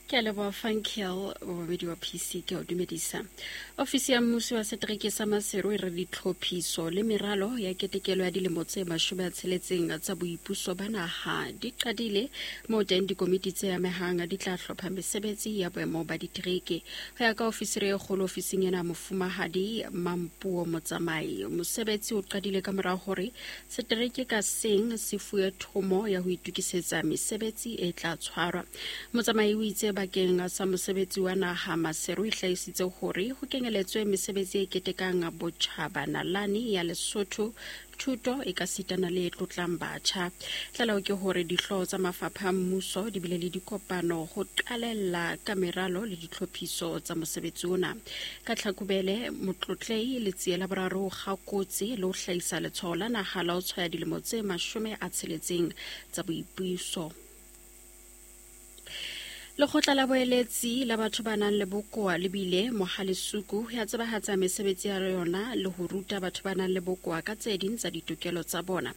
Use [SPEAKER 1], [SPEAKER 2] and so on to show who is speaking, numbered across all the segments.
[SPEAKER 1] Ke a leboha Funkel, momamedi wa PC, ke a o dumedisa. Ofisi ya mmuso wa setereke sa Maseru e re ditlhophiso le meralo ya ketekelo ya dilemo tse 60 tsa boipuso ba naha di qadile, moo teng dikomiti tse amehang di tla hlopha mesebetsi ya boemo ba ditereke. Ho ya ka ofisiri e kgolo ofising ena, Mofumahadi Mampuo Motsamai, mosebetsi o qadile ka mora hore setereke ka seng se fuwe thomo ya ho itokisetsa mesebetsi e tla tshwarwa. Motsamai o itse bakeng sa mosebetsi wa naha, Maseru e hlahisitse hore ho kenyeletswe mesebetsi e ketekang botjhaba, nalane ya Lesotho, thuto e ka sitana le e tlotlang batjha. Tlaleho ke hore dihlooho tsa mafapha a mmuso di bile le dikopano ho qalella ka meralo le ditlhophiso tsa mosebetsi ona. Ka Tlhakubele, Motlotlehi Letsie la Boraro o kgakotse le ho hlahisa letshwao la naha la ho tshwaya dilemo tse 60 tsa boipuso. Lekgotla la boeletsi la batho ba nang le bokoa le bile Mohalesuku ya tsebahatsa mesebetsi ya yona le ho ruta batho ba nang le bokoa ka tse ding tsa ditokelo tsa bona.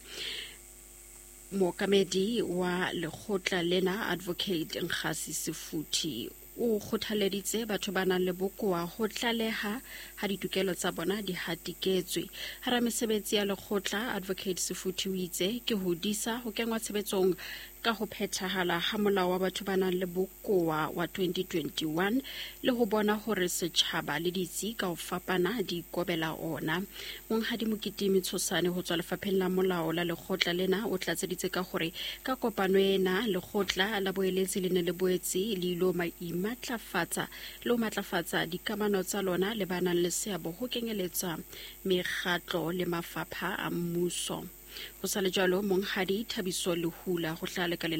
[SPEAKER 1] Mookamedi wa lekgotla lena, Advocate Nkgasi Sefuthi, o kgothaleditse batho ba nang le bokoa ho tlaleha ha ditokelo tsa bona di hatiketswe. Hara mesebetsi ya lekgotla, Advocate Sefuthi o itse ke ho disa ho kengwa tshebetsong ka ho phethahala ha molao wa batho ba nang le bokoa wa 2021 le ho bona hore setjhaba le ditsi ka ho fapana di ikobela ona. Monghadi Mokitimi Tshosane ho tswa lefapheng la molao la lekgotla lena o tlatseditse ka hore ka kopano ena lekgotla la boeletsi le ne le boetse le ilo imatlafatsa le ho matlafatsa dikamano tsa lona le ba nang le seabo ho kenyeletsa mekgatlo le mafapha a mmuso. Ho sa le jwalo, Monghadi Thabiso Lehula ho hlaha lekaleng.